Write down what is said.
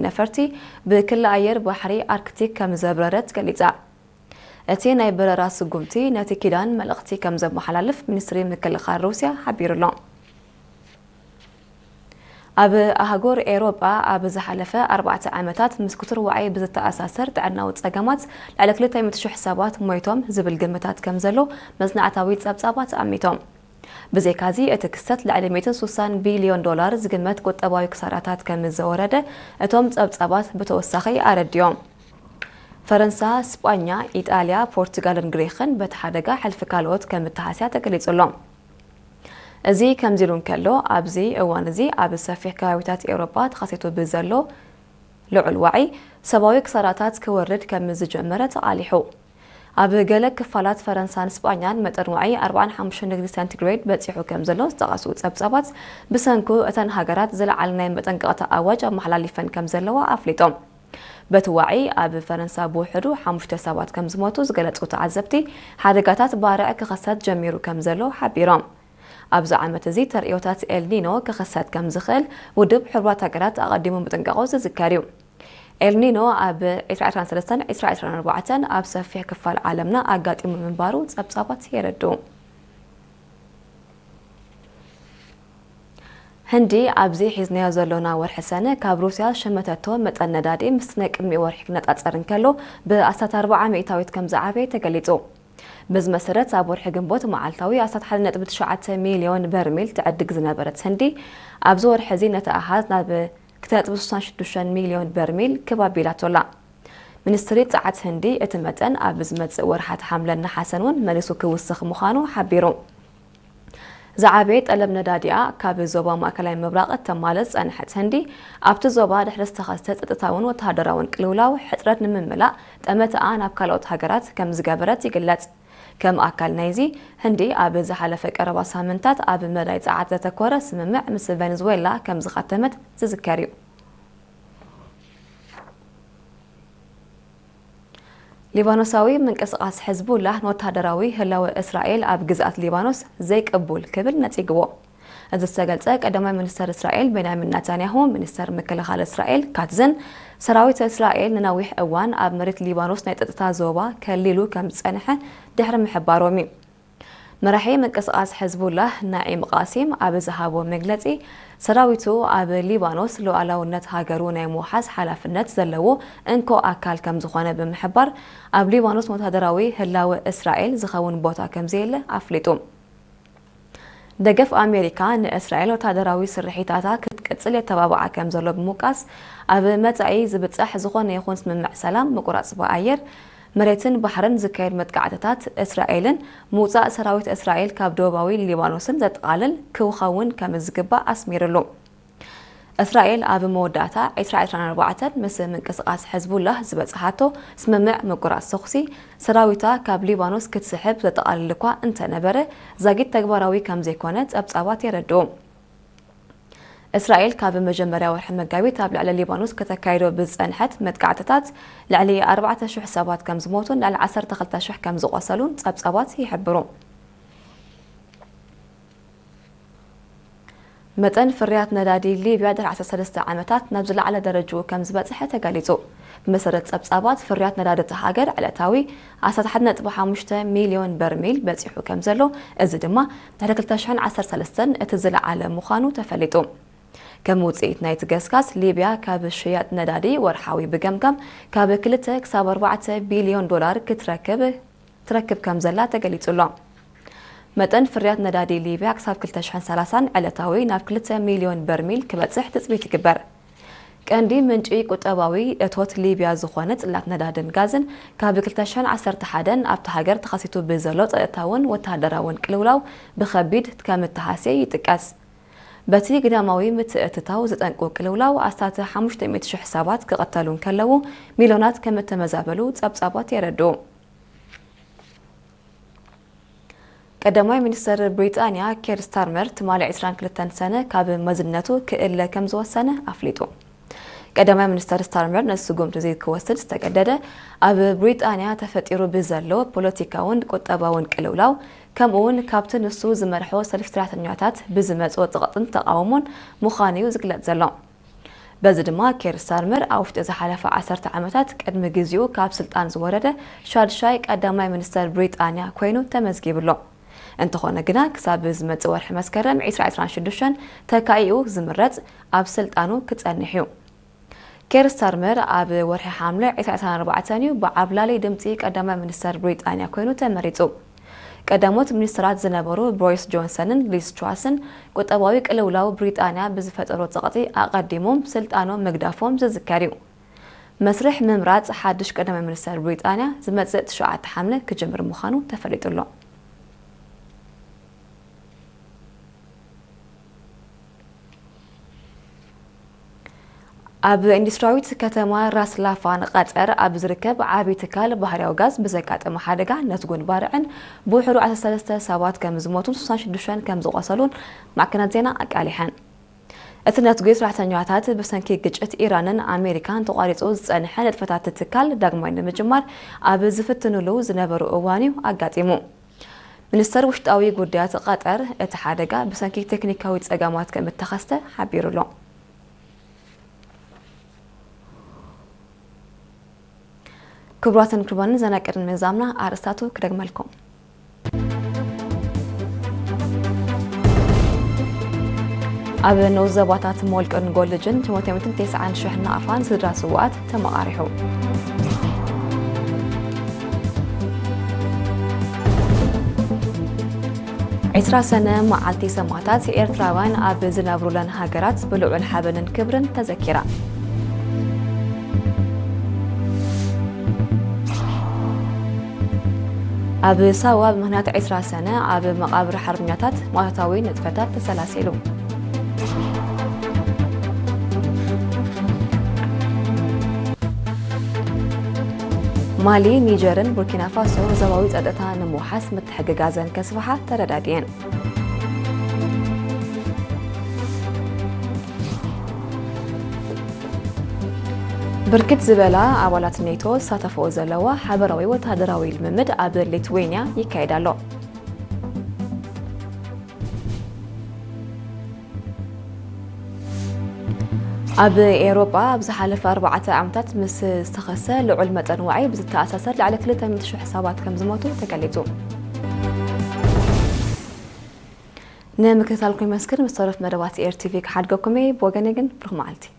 ነፈርቲ ብክሊ ኣየር ባሕሪ ኣርክቲክ ከም ዘብረረት ገሊጻ። እቲ ናይ በረራ ስጉምቲ ነቲ ኪዳን መልእኽቲ ከም ዘመሓላልፍ ሚኒስትሪ ምክልኻል ሩስያ ሓቢሩ ኣሎ። ኣብ ኣህጉር ኤውሮጳ ኣብ ዝሓለፈ ኣርባዕተ ዓመታት ምስ ክቱር ዋዒ ብዝተኣሳሰር ጥዕናዊ ጸገማት ልዕሊ ክልተ ሚእቲ ሽሕ ሰባት ሞይቶም ዝብል ግምታት ከም ዘሎ መጽናዕታዊ ጸብጻባት ኣሚቶም። ብዘይካዚ እቲ ክስተት ልዕሊ ሚእትን ሱሳን ቢልዮን ዶላር ዝግመት ቁጠባዊ ክሳራታት ከም ዘወረደ እቶም ጸብጻባት ብተወሳኺ ኣረዲዮም። ፈረንሳ፣ ስጳኛ፣ ኢጣልያ፣ ፖርቱጋልን ግሪኽን በቲ ሓደጋ ሕልፊ ካልኦት ከም እተሃስያ ተገሊጹ ኣሎ። እዚ ከምዚ ኢሉ እንከሎ፣ ኣብዚ እዋን እዚ ኣብ ሰፊሕ ከባቢታት ኤውሮጳ ተኸሲቱ ብዘሎ ልዑል ዋዒ ሰብኣዊ ክሳራታት ክወርድ ከም ዝጀመረ ተቓሊሑ። ኣብ ገለ ክፋላት ፈረንሳን ስጳኛን መጠን ዋዒ ኣርባዓን ሓሙሽተን ዲግሪ ሴንቲግሬድ በጺሑ ከም ዘሎ ዝጠቐሱ ጸብጻባት፣ ብሰንኩ እተን ሃገራት ዝለዓለ ናይ መጠንቀቕታ ኣዋጅ ኣመሓላሊፈን ከም ዘለዋ ኣፍሊጦም። በቲ ዋዒ ኣብ ፈረንሳ ብውሕዱ ሓሙሽተ ሰባት ከም ዝሞቱ ዝገለጹ ተዓዘብቲ፣ ሓደጋታት ባርዕ ክኸሰት ጀሚሩ ከም ዘሎ ሓቢሮም። ኣብዚ ዓመት እዚ ተርእዮታት ኤልኒኖ ክኸሰት ከም ዝኽእል ውድብ ሕቡራት ሃገራት ኣቐዲሙ ምጥንቃቑ ዝዝከር እዩ። ኤልኒኖ ኣብ ዕስራ ዕስራን ሰለስተን ዕስራ ዕስራን ኣርባዕተን ኣብ ሰፊሕ ክፋል ዓለምና ኣጋጢሙ ምንባሩ ጸብጻባት የረድኡ። ህንዲ ኣብዚ ሒዝናዮ ዘሎና ወርሒ ሰነ ካብ ሩስያ ዝሸመተቶ መጠን ነዳዲ ምስቲ ናይ ቅድሚኡ ወርሒ ክነጻጸር እንከሎ ብኣስታት ኣርብዓ ሚእታዊት ከም ዝዓበየ ተገሊጹ። በዚ መሰረት ኣብ ወርሒ ግንቦት መዓልታዊ ኣስታት ሓደ ነጥቢ ትሽዓተ ሚልዮን በርሚል ትዕድግ ዝነበረት ህንዲ ኣብዚ ወርሒ እዚ ነቲ ኣሃዝ ናብ ክልተ ነጥቢ ስሳን ሽዱሽተን ሚልዮን በርሚል ክብ ኣቢላቶ ኣላ። ሚኒስትሪ ጸዓት ህንዲ እቲ መጠን ኣብ ዝመጽእ ወርሓት ሓምለን ነሓሰን እውን መሊሱ ክውስኽ ምዃኑ ሓቢሩ። ዝዓበየ ጠለብ ነዳዲኣ ካብ ዞባ ማእከላይ ምብራቕ እተማልእ ዝጸንሐት ህንዲ፣ ኣብቲ ዞባ ድሕሪ ዝተኸስተ ጸጥታውን ወተሃደራውን ቅልውላው ሕጽረት ንምምላእ ጠመትኣ ናብ ካልኦት ሃገራት ከም ዝገበረት ይግለጽ። ከም ኣካል ናይዚ፣ ህንዲ ኣብ ዝሓለፈ ቀረባ ሳምንታት ኣብ መዳይ ጸዓት ዘተኮረ ስምምዕ ምስ ቬኔዙዌላ ከም ዝኸተመት ዝዝከር እዩ። ሊባኖሳዊ ምንቅስቓስ ሕዝቡላህ ንወተሃደራዊ ህላወ እስራኤል ኣብ ግዝኣት ሊባኖስ ዘይቅቡል ክብል ነጺግዎ። እዚ ዝተገልጸ ቀዳማይ ሚኒስተር እስራኤል ቤንያሚን ናታንያሁ፣ ሚኒስተር ምክልኻል እስራኤል ካትዝን ሰራዊት እስራኤል ንነዊሕ እዋን ኣብ መሬት ሊባኖስ ናይ ጸጥታ ዞባ ከሊሉ ከም ዝጸንሐ ድሕሪ ምሕባሮም እዩ። መራሒ ምንቅስቓስ ሕዝቡላህ ናዒም ቃሲም ኣብ ዝሃቦ መግለጺ፣ ሰራዊቱ ኣብ ሊባኖስ ሉዓላውነት ሃገሩ ናይ ምውሓስ ሓላፍነት ዘለዎ እንኮ ኣካል ከም ዝኾነ ብምሕባር፣ ኣብ ሊባኖስ ወተሃደራዊ ህላወ እስራኤል ዝኸውን ቦታ ከም ዘየለ ኣፍሊጡ። ደገፍ ኣሜሪካ ንእስራኤል ወተሃደራዊ ስርሒታታ ክትቅጽል የተባብዓ ከም ዘሎ ብምውቃስ፣ ኣብ መጻኢ ዝብጻሕ ዝኾነ ይኹን ስምምዕ ሰላም፣ ምቁራጽ ብኣየር፣ መሬትን ባሕርን ዝካየድ መጥቃዕትታት እስራኤልን ምውጻእ ሰራዊት እስራኤል ካብ ደቡባዊ ሊባኖስን ዘጠቓልል ክኸውን ከም ዝግባእ ኣስሚርሉ። እስራኤል ኣብ መወዳእታ ዕስራ ዕስራን ኣርባዕተን ምስ ምንቅስቓስ ሕዝቡላህ ዝበጽሓቶ ስምምዕ ምቁራጽ ተኹሲ፣ ሰራዊታ ካብ ሊባኖስ ክትስሕብ ዘጠቓልል እኳ እንተነበረ፣ ዛጊት ተግባራዊ ከም ዘይኮነ ጸብጻባት የረድኡ። እስራኤል ካብ መጀመርያ ወርሒ መጋቢት ኣብ ልዕሊ ሊባኖስ ከተካይዶ ብዝጸንሐት መጥቃዕትታት ልዕሊ ኣርባዕተ ሽሕ ሰባት ከም ዝሞቱን ልዕሊ ዓሰርተ ክልተ ሽሕ ከም ዝቖሰሉን ጸብጻባት ይሕብሩ። መጠን ፍርያት ነዳዲ ሊብያ ድሕሪ ዓሰርተ ሰለስተ ዓመታት ናብ ዝለዓለ ደረጅኡ ከም ዝበጽሐ ተገሊጹ። ብመሰረት ጸብጻባት፣ ፍርያት ነዳዲ እታ ሃገር ዕለታዊ ኣስታት ሓደ ነጥቢ ሓሙሽተ ሚልዮን በርሚል በጺሑ ከም ዘሎ፣ እዚ ድማ ድሕሪ ክልተ ሽሕን ዓሰርተ ሰለስተን እቲ ዝለዓለ ምዃኑ ተፈሊጡ። ከም ውጽኢት ናይቲ ገስጋስ፣ ሊብያ ካብ ሽያጥ ነዳዲ ወርሓዊ ብገምጋም ካብ ክልተ ክሳብ ኣርባዕተ ቢልዮን ዶላር ክትረክብ ትረክብ ከም ዘላ ተገሊጹ ኣሎ። መጠን ፍርያት ነዳዲ ሊብያ ክሳብ ክልተ ሽሕን ሰላሳን ዕለታዊ ናብ ክልተ ሚልዮን በርሚል ክበጽሕ ትጽቢት ይግበር። ቀንዲ ምንጪ ቁጠባዊ እቶት ሊብያ ዝኾነ ጽላት ነዳድን ጋዝን፣ ካብ ክልተ ሽሕን ዓሰርተ ሓደን ኣብታ ሃገር ተኸሲቱ ብዘሎ ጸጥታውን ወተሃደራውን ቅልውላው ብኸቢድ ከም እተሃስየ ይጥቀስ። በቲ ግዳማዊ ምትእትታው ዝጠንቁ ቅልውላው ኣስታት ሓሙሽተ ሚእቲ ሽሕ ሰባት ክቕተሉ እንከለዉ፣ ሚልዮናት ከም እተመዛበሉ ጸብጻባት የረድኡ። ቀዳማይ ሚኒስተር ብሪጣንያ ኬር ስታርመር ትማሊ ዕስራን ክልተን ሰነ ካብ መዝነቱ ክእለ ከም ዝወሰነ ኣፍሊጡ። ቀዳማይ ሚኒስተር ስታርመር ነዚ ስጉምቲ እዚ ክወስድ ዝተገደደ፣ ኣብ ብሪጣንያ ተፈጢሩ ብዘሎ ፖለቲካውን ቁጠባውን ቅልውላው፣ ከምኡውን ካብቲ ንሱ ዝመርሖ ሰልፊ ሰራሕተኛታት ብዝመጽኦ ጸቕጥን ተቓውሞን ምዃኑ እዩ ዝግለጽ ዘሎ። በዚ ድማ ኬር ስታርመር ኣብ ውሽጢ ዝሓለፈ ዓሰርተ ዓመታት ቅድሚ ግዚኡ ካብ ስልጣን ዝወረደ ሻድሻይ ቀዳማይ ሚኒስተር ብሪጣንያ ኮይኑ ተመዝጊቡ ኣሎ። እንተኾነ ግና ክሳብ ዝመጽእ ወርሒ መስከረም ዕስራ ዕስራን ሽዱሽተን ተካኢኡ ዝምረጽ ኣብ ስልጣኑ ክጸንሕ እዩ። ኬር ስታርመር ኣብ ወርሒ ሓምለ ዕስራ ዕስራን ኣርባዕተን እዩ ብዓብላሊ ድምጺ ቀዳማይ ሚኒስተር ብሪጣንያ ኮይኑ ተመሪጹ። ቀዳሞት ሚኒስተራት ዝነበሩ ቦሪስ ጆንሰንን ሊዝ ትራስን ቁጠባዊ ቅልውላው ብሪጣንያ ብዝፈጠሮ ጸቕጢ ኣቐዲሞም ስልጣኖም ምግዳፎም ዝዝከር እዩ። መስርሕ ምምራጽ ሓድሽ ቀዳማይ ሚኒስተር ብሪጣንያ ዝመጽእ ትሽዓተ ሓምለ ክጅምር ምዃኑ ተፈሊጡ ኣሎ። ኣብ ኢንዱስትሪያዊት ከተማ ራስ ላፋን ቀጠር ኣብ ዝርከብ ዓቢ ትካል ባህርያዊ ጋዝ ብዘጋጠመ ሓደጋ ነትጉን ባርዕን ብውሕዱ ዓሰርተ ሰለስተ ሰባት ከም ዝሞቱን ስሳን ሽዱሽተን ከም ዝቖሰሉን ማዕከናት ዜና ኣቃሊሐን። እቲ ነትጒ ሰራሕተኛታት ብሰንኪ ግጭት ኢራንን ኣሜሪካን ተቋሪጹ ዝጸንሐ ንጥፈታት ትካል ዳግማይ ንምጅማር ኣብ ዝፍትኑሉ ዝነበሩ እዋን እዩ ኣጋጢሙ። ሚኒስተር ውሽጣዊ ጉዳያት ቀጠር እቲ ሓደጋ ብሰንኪ ቴክኒካዊ ጸገማት ከም እተኸስተ ሓቢሩ ኣሎ። ክቡራትን ክቡራንን ዜና ቅድሚ ምዛምና ኣርእስታቱ ክደግመልኩም። ኣብ ንኡስ ዞባታት ሞልቅን ጎልጅን ሸሞንተ ሚእትን ተስዓን ሽሕ ናቕፋን ስድራ ስውኣት ተመቓሪሑ። ዕስራ ሰነ መዓልቲ ሰማእታት ኤርትራውያን ኣብ ዝነብሩለን ሃገራት ብልዑል ሓበንን ክብርን ተዘኪራ። ኣብ ሳዋ ብምኽንያት ዕስራ ሰነ ኣብ መቓብር ሓርበኛታት መዋታዊ ንጥፈታት ተሰላሲሉ። ማሊ፣ ኒጀርን ቡርኪና ፋሶ ዞባዊ ጸጥታ ንምውሓስ ምትሕግጋዘን ከስፍሓ ተረዳዲኤን። ብርክት ዝበላ ኣባላት ኔቶ ዝሳተፈኦ ዘለዋ ሓበራዊ ወተሃደራዊ ልምምድ ኣብ ሊትዌንያ ይካየድ ኣሎ። ኣብ ኤውሮጳ ኣብ ዝሓለፈ ኣርባዕተ ዓመታት ምስ ዝተኸሰ ልዑል መጠን ዋዒ ብዝተኣሳሰር ልዕሊ ክልተ ሚእቲ ሽሕ ሰባት ከም ዝሞቱ ተገሊጹ። ንምክትታልኩም የመስግን። ምስ ተረፍ መደባት ኤር ቲቪ ክሓድገኩም እየ። ብወገነይ ግን ብሩኽ መዓልቲ።